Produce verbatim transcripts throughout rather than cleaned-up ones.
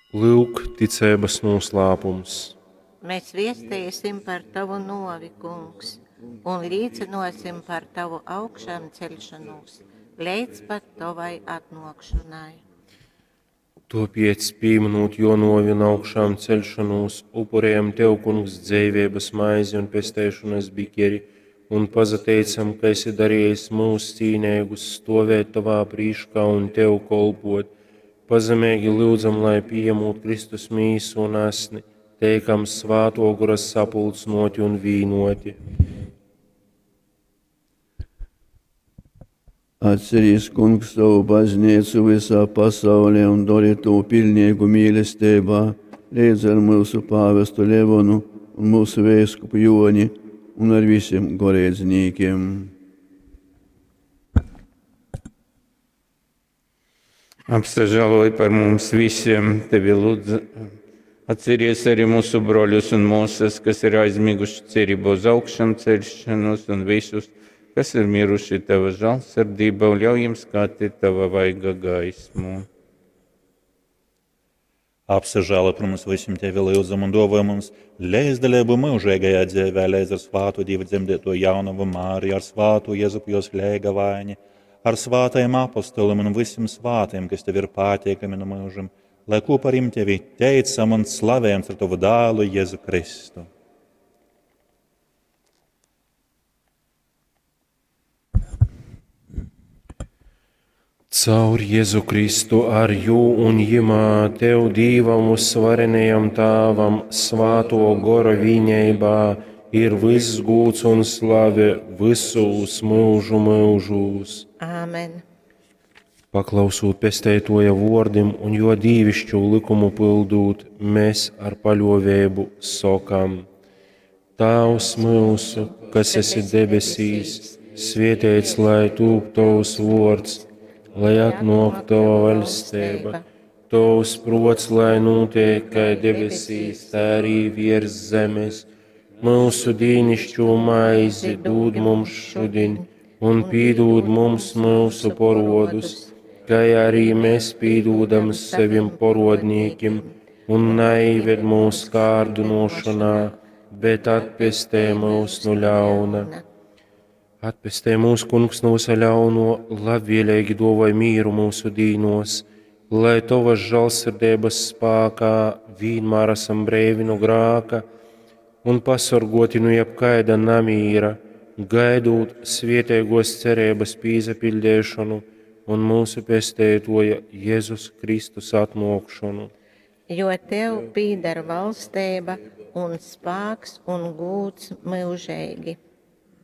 Lyuk, ticeibas nūslāpums. Mēs viesteisim par tavu nuovi, Kungs, un līcynuosim par tavu augšāmceļšonūs leidz pat tovai atnuokšonai. Tuopiec, pīminūt juo nuovi un augšām ceļšonūs, upurējam Tev, Kungs, dzeiveibas maizi un pesteišonas bikeri, un pasateicam, ka esi darījis mūs cīneigus stovēt Tavā prīškā un Tev kolpot. Pazemeigi lyudzam, lai pījemūt Kristus mīsu un asni, teikam Svāto Gora sapulcnoti un vīnoti. Atcerīs, Kungs, savu baznīcu visā pasaulē un dori to pilnīgu mīlestībā, līdz ar mūsu pāvestu Levonu un mūsu vēskupu Joni un ar visiem goreidznīkiem. Apsažāloj par mums visiem, tevi lūdzu. Atceries arī mūsu broļus un māsas, kas ir aizmiguši cerību uz augšām celšanos un visus, kas ir miruši tava žēlsirdībā, un ļauj jiem skatīt tava vaiga gaismu. Apsažālo par mums visiem tevi lūdzam un dāvā mums līdzdalību mūžīgajā dzīvē, līdz ar svātu Dievu dzemdēto jaunavu Māriju, ar svātu Jēzupu jos lēgavaini, ar svātajiem apostoliem un visiem svātiem, kas tev ir pateikami no mūžam, lai kopā ar viņiem tevi teicam un slavējam ar tavu dēlu Jēzu Kristu. Caur Jēzu Kristu ar jū un jimā Tev Dīvam uzvarenajam Tāvam svāto Gora vīņeibā ir viss gūts un slave visus mūžu mūžūs. Āmen. Paklausūt pesteitoja vordim un jo dīvišķu likumu pildūt, mēs ar paļovēbu sokam: Tāvs mūsu, kas esi debesīs, svietēts lai tūp tavs vords, lai atnāk tava vaļstība, tavs prots, lai notiek kā debesīs, tā arī virs zemes. Mūsu dīnišķo maizi dod mums šodien, un pīdod mums mūsu porodus, kā arī mēs pīdodam sevim porodnīkim, un neived mūsu kārdinošanā, bet atpestē mūs no ļauna. Atpestē mūs, Kungs, no visa ļauno, labvēlīgi dovai mīru mūsu dīnos, lai tavas žēlsirdības spākā vienmēr esam brīvi no grāka un pasorgoti no jebkaida namīra, gaidot svietēgos cerības pīzapildēšanu un mūsu pestētoja Jēzus Kristus atnākšanu. Jo tev pīdar valstība un spāks un gūts mūžīgi.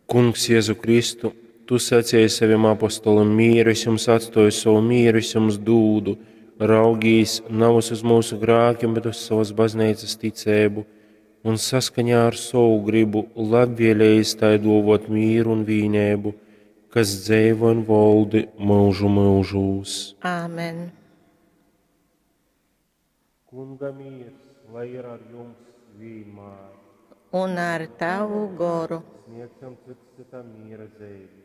Kungs Jēzu Kristu, tu sacīji saviem apostolim, mieru es jums atstoju, savu mieru es jums dūdu, raugīs nav uz mūsu grākiem, bet uz savas baznīcas ticēbu, un saskaņā ar savu gribu labvēlējis tai dovot mieru un vīnēbu, kas dzeivo un voldi mūžu mūžūs. Āmen. Kunga miers, lai ir ar jums vienmēr. Un ar tavu goru. Sniegsim cits citam miera zīmi.